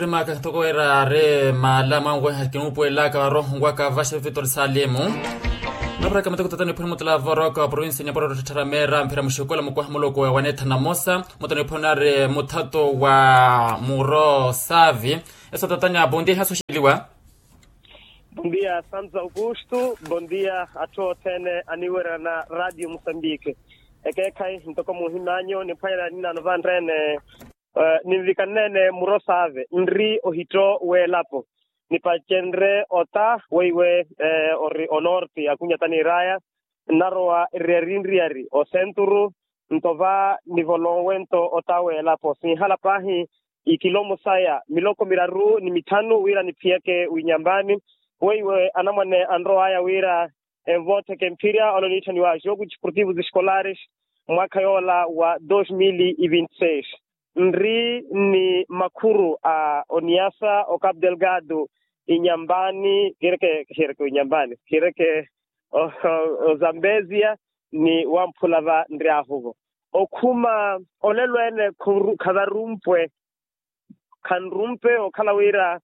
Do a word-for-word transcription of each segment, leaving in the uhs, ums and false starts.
Maka ntoko wira ari maala mwanweha kinuupuwelaka varoho nkwaka vaxa vivitori salimu. Naparaka matoko tatani phuni mutula voroka wa provinsi nyaporo tthara mera mphira muxukola mukuha muluku wa wanetha namosa. Mutoni phuni ari muthato wa muro savi. Eso tatanya bondia ihasoxeliwa. Bondia santos augusto. Bondia atthu othene aniwerana radio musambike. Ekeekhayi ntoko muhimanyo niphwanyela ninano vanrene. Ninvikannene muro saave nri ohitto w'elapo. Nipacenre ota weiwe ori onorti akunyata n'iraya. Nnarowa eriyari nriyari osenturu. Nto va nivolonwe nto ota w'elapo sinhala paahi ikilomo saya miloko miraru ni mitthanu wira niphiyeke winyambani. Weiwe anamwane anrowaya wira envootheke mphirya ole oniitthaniwa jogo desportivo escolares mwaakha yoola wa dos mil e vinte seis. Nri ni makhuru a oniasa o capo delgado inyambani kireke kireke inyambani kireke ozambezia ni wamphula va nryahu-vo okhuma olelo ene khavarumpwe. Khanrumpe okhala wira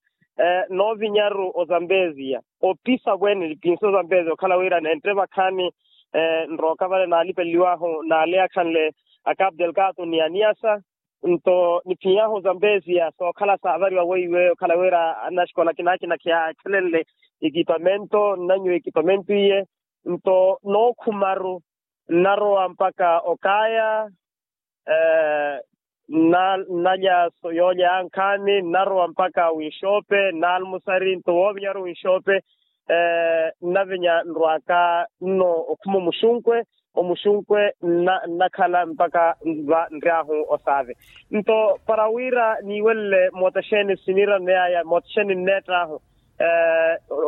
noovinyaru ozambezia opisa vwene nipinsa ozambezia okhala wira nentte vakhaani nrooka vale naalipeleliwahu naale akhanle a capo delgado ni aniasa. Nto niphiyahu ozambezia sookhala saavariwa weiwe okhala wira annaxikola kinaakina khiyakhelenle ekipamento nnanyu ekipamento iye. Nto nookhumaru nnarowa mpaka okaya nnalya yoolya yankhaani nnarowa mpaka winxoope nnaalmusari nto woovinyaru winxoope. Nnavinya nrwaka nno okhuma omuxunkwe omuxunkwe nnakhala mpaka va nryahu osaave. Nto para wira niiwelele moota xeeni siniiraneyaya moota xeeni nneett'ahu.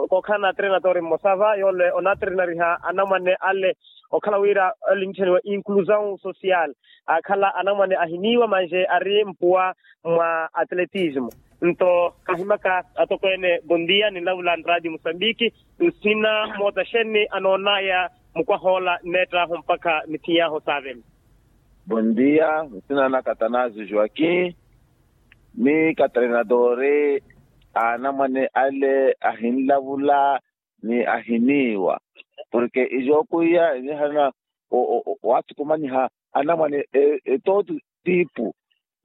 Kookhala na treinador mmosa va yoole onatrenariha anamwane ale okhala wira ole nitthaniwa inclusão social akhala anamwane ahiniiwa manje ari mpuwa mwa atletismo. Nto kahimaka atokweene bondia ninlavula nradio musambiki nsina moota xeeni anoonaya mukwahoola nneett'ahu mpakha nithiyahu saaveni. Bondia nsina naka atanasio joaquim. Ni katreinadore a anamwane ale ahinlavula ni ahiniiwa porke ijookuiya inihana waathukumanyiha anamwane etooti tipu.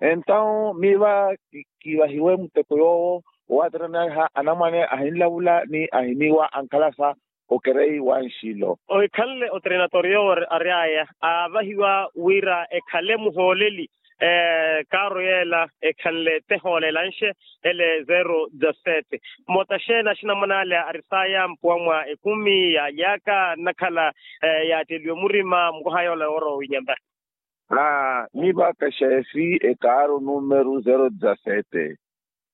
Entawu miiva kiivahiwe muteko yoowo owaatirana anamwane ahinlavula ni ahiniiwa ankhalasa okereyi wa nxilo. Ohikhanle otreinador yoowo ary'aya aavahiwa wira ekhale muhooleli. Kaaru yeela ekhanle tehoolela nxe ele zero dezasete. Mmoota xeeni axinamwane ale ari saaya mpuwa mwa ekumi yaaly'aka nnakhala yaatteliwe murima mukoha yoola yoorowa winyamba. Aa miiva kaxeefi ekaaru numeru zero dezasete.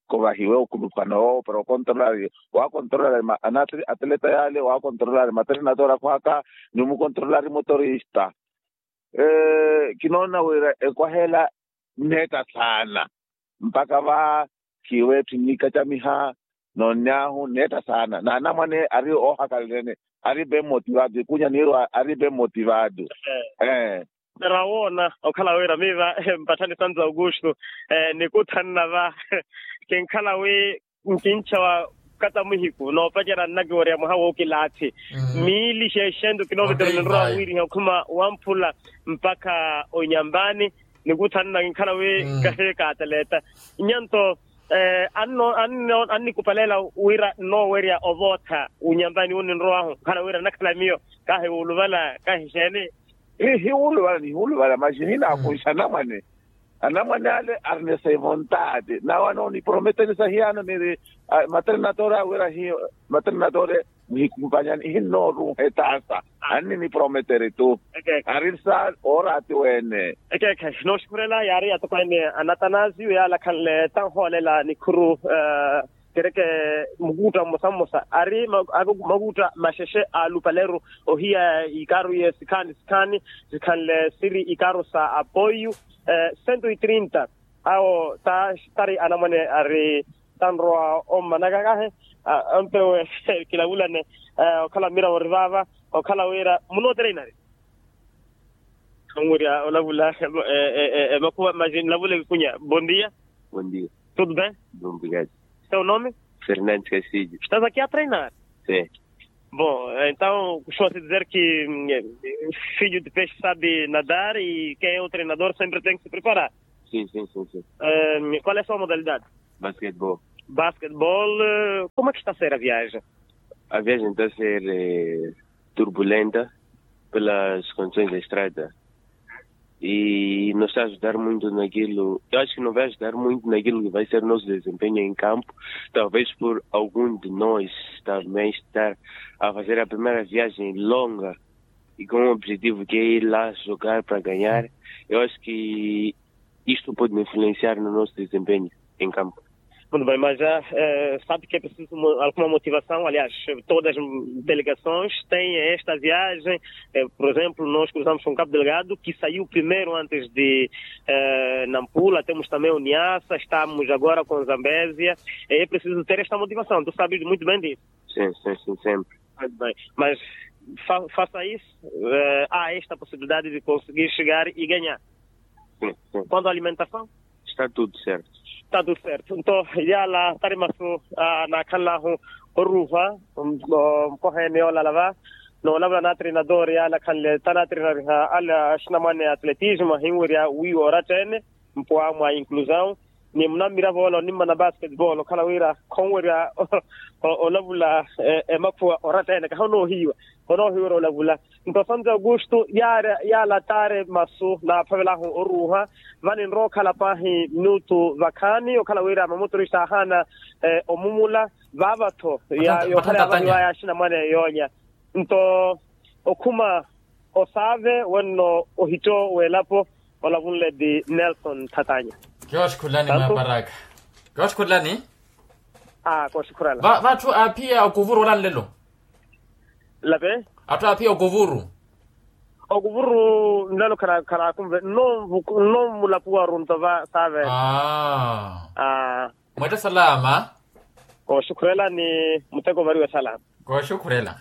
Kovahiwe okhulupano yoowo para okontrola waakontrola anatri atleta yaale waakontrola ari matrenatora khwaka ni omukontrola ari motorista. Kinoona wira ekwahela nneetta saana mpaka va khiiwe etthu nnikacamiha. Noonny'ahu nneetta saana n'anamwane ari oohakalelene ari ben motivado ikunya niirwa ari ben motivado. Ee. Para woona okhala wira miiva mpatthani santo augusto. Nikuthanna va kinkhala wi nkincha wa kata muhiku noopacerya nnakiwerya mwaha wookilaathi miili xexento kinoovetera ninrowa wiriha okhuma wamphula mpakha onyambani. Nikuthanna kinkhala wi kahi kaataleta nyanto annikupaleela wira nnoowerya ovootha unyambani wu ninrowahu nkhala wira nnakhala miyo kahi wuuluvala kahi xeeni. Hiwuluvala nihiwuluvala maxi hinaakunxa anamwane. Anamwane ale ari ni seivontade nawe anooniprometerisa hiyano niri matrenatore awira hi matrenatore nihikumpanyani ihinnoorunha etaasa. Anniniprometere tu. Ari sa ooraati wene. Ekeekhe nooxukhurela yaari atokweene anatanasio yaala akhanle tanhoolela nikhuru kereke mukuutta mmosa mmosa ari makuutta maxexe a lupaleru ohiya ikaaru iye sikhaani sikhaani sikhanle siri ikaaru sa apoiyu. Sento itrinta awo tari anamwane ari tanrowa ommanaka kahi ampewe kilavulane okhala mira ori vaava okhala wira munootere inari. Khanwirya olavula emakhuva maxi nlavula ekunya bondia. Bondia. Tudo bem? Bom, obrigado. Seu nome? Fernandes Castilho. Estás aqui a treinar? Sim. Bom, então costuma-se dizer que filho de peixe sabe nadar e quem é o treinador sempre tem que se preparar. Sim, sim, sim, sim. Qual é a sua modalidade? Basquetebol. Basquetebol. Como é que está a ser a viagem? A viagem está a ser turbulenta pelas condições da estrada. E não está a ajudar muito naquilo. Eu acho que não vai ajudar muito naquilo que vai ser nosso desempenho em campo. Talvez por algum de nós também estar a fazer a primeira viagem longa e com um objetivo que é ir lá jogar para ganhar. Eu acho que isto pode influenciar no nosso desempenho em campo. Muito bem, mas já sabe que é preciso alguma motivação. Aliás, todas as delegações têm esta viagem. Por exemplo, nós cruzamos com Cabo Delgado, que saiu primeiro antes de Nampula. Temos também o Niassa, estamos agora com Zambésia. É preciso ter esta motivação, tu sabes muito bem disso. Sim, sim, sim, sempre. Muito bem, mas face a isso, há esta possibilidade de conseguir chegar e ganhar. Quanto à alimentação? Está tudo certo. Está tudo certo. Nto yala tari masu anakhanlahu oruuha nkohene yoolala va noolavula na treinador yala khanle ta na treinariha ala axinamwane atletismo ahinwerya wiiwa oratta ene mpwa mwa inclusão ni munamira voola onimmana basketball okhala wira khonwerya olavula emakhuwa oratta ene kahi onoohiiwa onoohiiwerya olavula. Nto santo augusto yaala taari masu naaphavelahu oruuha vani nrowa okhala paahi minutu vakhaani okhala wira mamotorista aahaana omumula vaava-tho. Yokhala yaavanyiwaya axinamwane yoolya nto okhuma osaave wenno ohitto w'elapo olavunle ti nelson thatanya. Kioxi khulani maparaka kioxi khulani. Aa kooxikhurela. Vatthu aaphiya okuvuru ola nlelo. Lape. Atthu aaphiya okuvuru. Okuvuru nlelo kharaakunve nno mulapuwaru nto va saaveela. Aa. Mweetta salama. Kooxikhurela ni muteko ovariwe salama. Kooxikhurela.